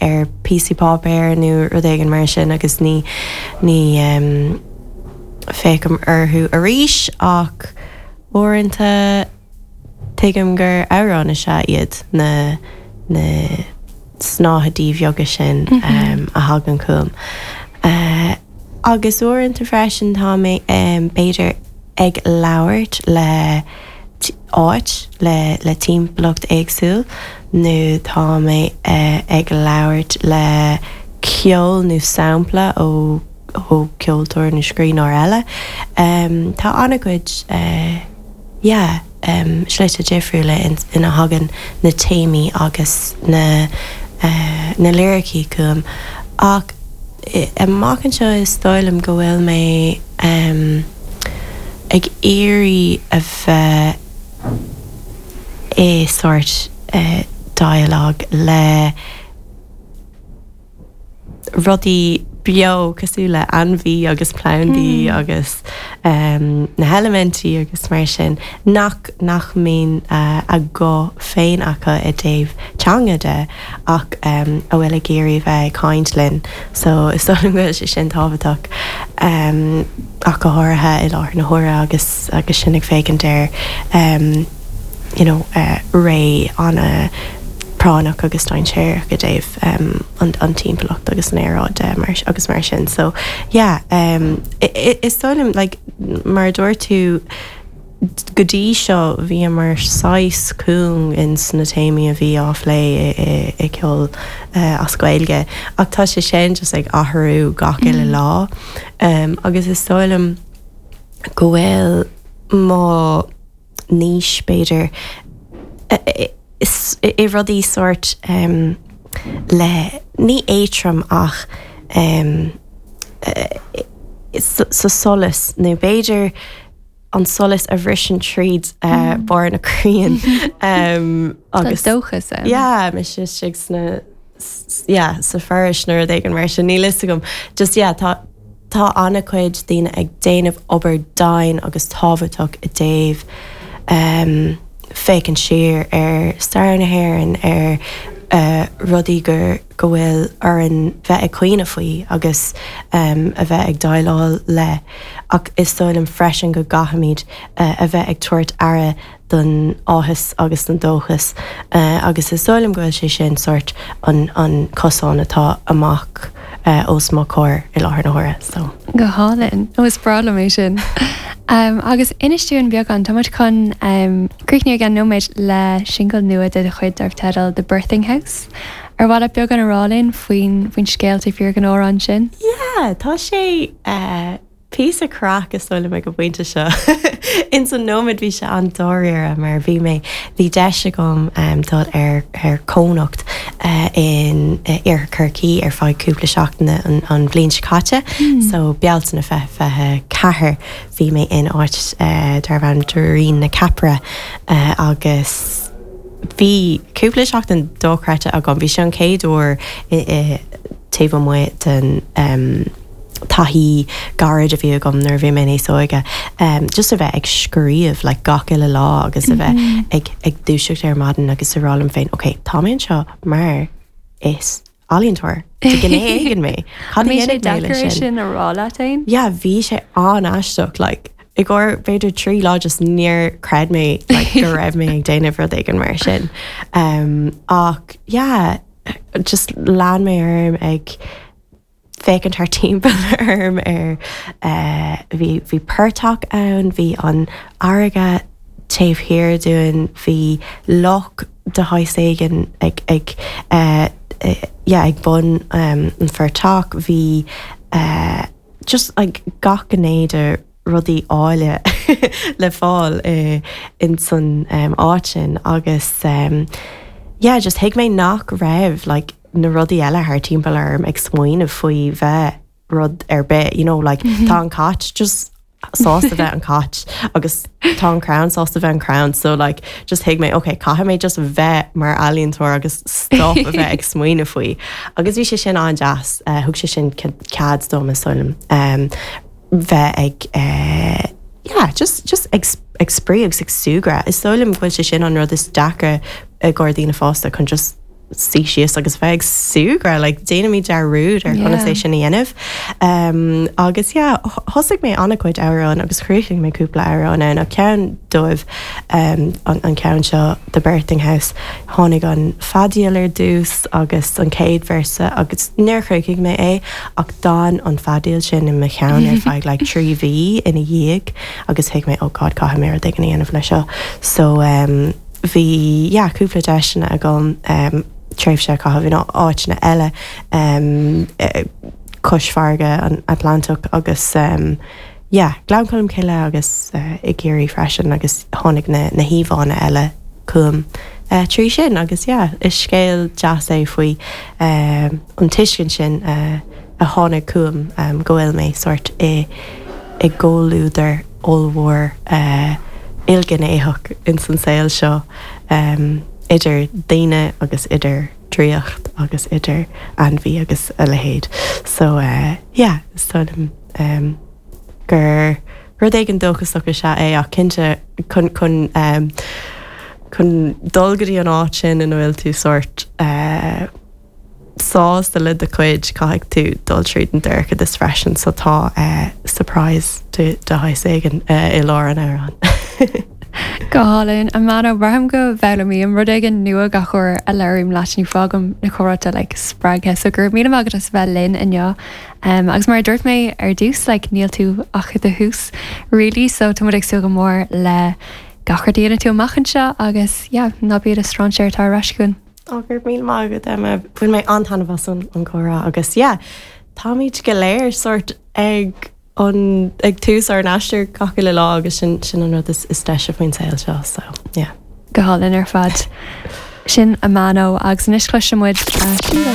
Ar píosaí páipéir nó rud éigin mar sin agus ní, ní féachaim orthu arís ach uaireanta tuigim gur amhráin is ea iad na, na snáthaidí bheaga sin a thagann chugam. Agus uaireanta freisin tá mé b'fhéidir ag labhairt le. áit le le timpeallacht éagsúil nó tá mé ag labhairt le ceol nó sampla ó ó ceoltóir nó scríbhneoir eile. Tá an-chuid yeah slite difriúla ina thagann na téamaí agus na na liricí chugam ach amach anseo is dóigh liom go bhfuil mé ag iarraidh a bheith i sórt dialogue le rudaí beo cosúil le ainmhí agus plandaí agus na heilimintí agus mar sin nach nach mbíonn a guth féin acu i dtaobh teanga de ach a bhfuil ag iarraidh bheith ag caint linn so is dóigh liom go bhfuil sé sin tábhachtach ach go háirithe i láthair na huaire agus agus sinn ag féachaint ar you know ré an-phráinneach agus dainséarach i dtaobh an an timpeallacht agus an aeráid de mar agus mar sin so yeah is dóigh liom like mar a dúirt tú Go dtí seo bhíomar saghas cúng ins na téamaí a bhí á phlé i gceol as Gaeilge ach tá sé sin just ag athrú gach uile lá agus is dóigh liom go bhfuil mo niche b'fhéidir i rudaí sórt le ní éadrom ach sa solas nó b'fhéidir an solas a bhriseann tríd barr na crainn agus Tá dóchas ann. Yeah, mise istigh sna yeah, sa foraois nó rud éigin mar sin, níl fhios agam. Just yeah, tá tá an-chuid daoine ag déanamh obair dian agus tábhachtach i dtaobh um, féachaint siar ar stair na hÉireann, ar uh, rudaí gur go bhfuil orainn bheith ag cuimhneamh faoi agus a bheith ag déileáil le ach is dóigh liom freisin go gcaithfimid a bheith ag tabhairt aire don áthas agus don dóchas agus is dóigh liom go bhfuil sé sin sórt an an cosán atá amach os mo chomhair i láthair na huaire so. Go hálainn. Ó is breá liom é sin. Agus inis dúinn beagán, tá muid chun críochnú i gceann nóiméid le singil nua de do chuid darb teideal The Birthing House. Ar mhaith leat beagán a rá linn faoin faoin scéal taobh thiar den amhrán sin? Yeah, tá sé eh píosa craic is dóigh liom ag an bpointe seo. Ins an nóiméad bhí sé an-dáiríre mar bhí mé, bhí deis agam em dul ar ar cónocht eh in Iarthar Chorcaí ar feadh cúpla seachtaine an an bhliain seo caite. So Bealtaine 2024 bhí mé in áit eh darbh ainm Doirín na Ceapaire eh agus Bhí cúpla seachtain dochreidte agam. Bhí sé an chéad uair taobh amuigh den taithí gairid a bhí agam nuair a bhí mé níos óige, just a bheith ag scríobh like gach uile lá agus a bheith ag ag dúiseacht ar maidin agus a rá liom féin, ok, tá mé anseo mar is ealaíontóir de ghné éigin mé. Cad a dhéanfaidh mé leis sin? Bhí sé deacair é sin a rá leat féin? Yeah, bhí sé an-aisteach, like, i gcomhair b'fhéidir 3 lá just níor chreid mé like, go raibh mé ag déanamh rud éigin mar sin. Um, ach yeah, just lean mé orm ag féachaint thar timpeall orm ar uh, bhí, bhí portach ann, bhí an fharraige taobh thiar dúinn, bhí loch de shaghas éigin ag ag yeah ag bun an phortach bhí just like gach gné de rudaí áille le fáil ins an áit sin agus yeah just thuig mé nach raibh like na rudaí eile thar timpeall orm ag smaoineamh faoi bheith rud ar bith, you know, like tá an cat just sásta bheith an cat agus tá an crann sásta bheith an crann so like just thuig mé ok caithfidh mé just bheith mar ealaíontóir agus stop a bheith ag smaoineamh faoi agus bhí sé sin an-deas uh, thug sé sin cead dom is dóigh liom um, bheith ag uh, yeah, just, just ag, ag spraoi agus ag súgradh is dóigh liom go bhfuil sé sin an rud is deacra i gcomhair daoine fásta chun just. suí síos agus bheith ag súgradh, like déanaimid dearúd ar conas é sin a dhéanamh. Um, agus yeah, thosaigh mé an-chuid amhrán agus chríochnaigh mé cúpla amhrán ann ach ceann dóibh um, an, an ceann seo The Birthing House, tháinig an feadaíl ar dtús agus an chéad véarsa agus níor chríochnaigh mé é ach d'fhan an feadaíl sin i mo cheann ar feadh like 3 mhí ina dhiaidh agus thuig mé oh God caithfidh mé rud éigin a dhéanamh le seo. So um, bhí yeah cúpla deiseanna agam um, tréimhse a chaitheamh in áiteanna eile um, cois farraige an Atlantach agus um, yeah, Gleann Cholm Cille agus uh, i gCiarraí freisin agus tháinig na, na híomhánna eile chugam uh, trí sin agus yeah, is scéal deas é faoi uh, an tuiscint sin uh, a tháinig chugam um, go bhfuil mé sort i i gcomhluadar ollmhór uh, ilghnéitheach ins an saol seo um, idir daoine agus idir draíocht agus idir ainmhí agus a leithéid. So uh, yeah, is dóigh liom um, gur rud éigin dóchasach is ea é ach cinnte chun chun um, chun dul go dtí an áit sin ina bhfuil tú sort uh, sásta le do chuid, caithfidh tú dul tríd an dorchadas freisin so tá surprise de shaghas éigin i lár an amhráin. Go hálainn. Amano, braithim go bhfoghlaimím rud éigin nua gach uair a labhraím leat nó fágaim na comhráite like spreagtha so go raibh míle maith agat as a bheith linn inniu. Um, agus mar a dúirt mé ar dtús like níl tú ach i do thús really so tá muid ag súil go mór le gach rud a dhéanfaidh tú amach anseo agus yeah, ná bí i do strainséir tar ar ais chugainn. Ó, go raibh míle maith agat, Emma. Bhain mé an-taitneamh as an gcomhrá agus yeah, táimid go léir sort ag an ag tús ár n-aistear gach uile lá agus sin sin an rud is is deise faoin saol seo so yeah. Go hálainn ar fad. Sin Amano agus anois cloisfidh muid a singil.